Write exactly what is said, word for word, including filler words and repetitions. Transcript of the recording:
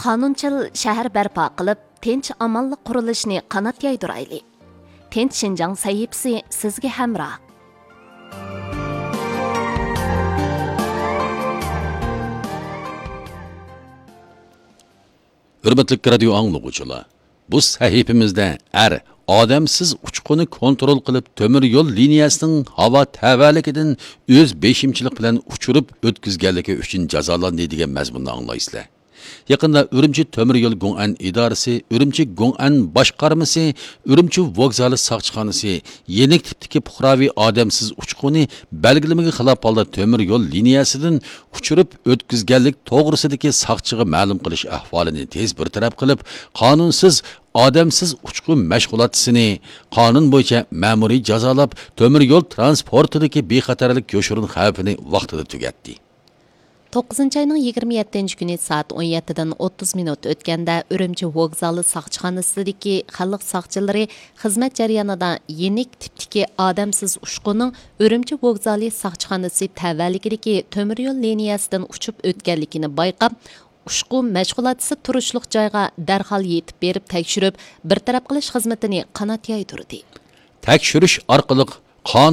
قانۇنچىل شەھەر بەرپا قىلىپ، تىنچ-ئامانلىق قۇرۇلۇشىنى قانات يايدۇرايلى. تىنچ شىنجاڭ سەھىپىسى سىزگە ھەمراھ. ھۆرمەتلىك رادىيو ئاڭلىغۇچىلار، بۇ سەھىپىمىزدە ئەر ئادەمسىز ئۇچقۇنى كونترول قىلىپ، تۆمۈر يول لىنىيەسىنىڭ ھاۋا تەۋەلىكىدىن ئۆز بېشىمچىلىق بىلەن ئۇچۇرۇپ ئۆتكۈزگەنلىكى ئۈچۈن جازالاندى دېگەن مەزمۇننى ئاڭلايسىلەر. يېقىندا ئۈرۈمچى تۆمۈر يول گوڭئەن ئىدارىسى، ئۈرۈمچى گوڭئەن باشقارمىسى، ئۈرۈمچى ۋوگزالى ساقچىخانىسى يېنىك تىپتىكى پۇقراۋى ئادەمسىز ئۇچقۇنى بەلگىلىمىگە خىلاپ ھالدا تۆمۈر يول لىنىيەسىدىن ئۇچۇرۇپ ئۆتكۈزگەنلىك توغرىسىدىكى ساقچىغا مەلۇم قىلىش ئەھۋالىنى تېز بىر تەرەپ قىلىپ، قانۇنسىز ئادەمسىز ئۇچقۇن مەشغۇلاتچىسىنى قانۇن بويىچە مەمۇرىي جازالاپ، تۆمۈر يول تىرانسپورتىدىكى بىخەتەرلىك يوشۇرۇن خەۋپىنى ۋاقتىدا تۈگەتتى. توققۇزىنچى ئاينىڭ يىگىرمە يەتتىنچى كۈنى سائەت ئون يەتتىدىن ئوتتۇز مىنۇت ئۆتكەندە، ئۈرۈمچى ۋوگزالى ساقچىخانىسىدىكى خەلق ساقچىلىرى خىزمەت جەريانىدا يېنىك تىپتىكى ئادەمسىز ئۇچقۇننىڭ ئۈرۈمچى ۋوگزالى ساقچىخانىسى تەۋەلىكىدىكى تۆمۈر يول لىنىيەسىدىن ئۇچۇپ ئۆتكەنلىكىنى بايقاپ، ئۇچقۇن مەشغۇلاتچىسى تۇرۇشلۇق جايغا دەرھال يېتىپ بېرىپ تەكشۈرۈپ، بىر تەرەپ قىلىش خىزمىتىنى قانات يايدۇردى. تەكشۈرۈش ئارقىلىق قانۇن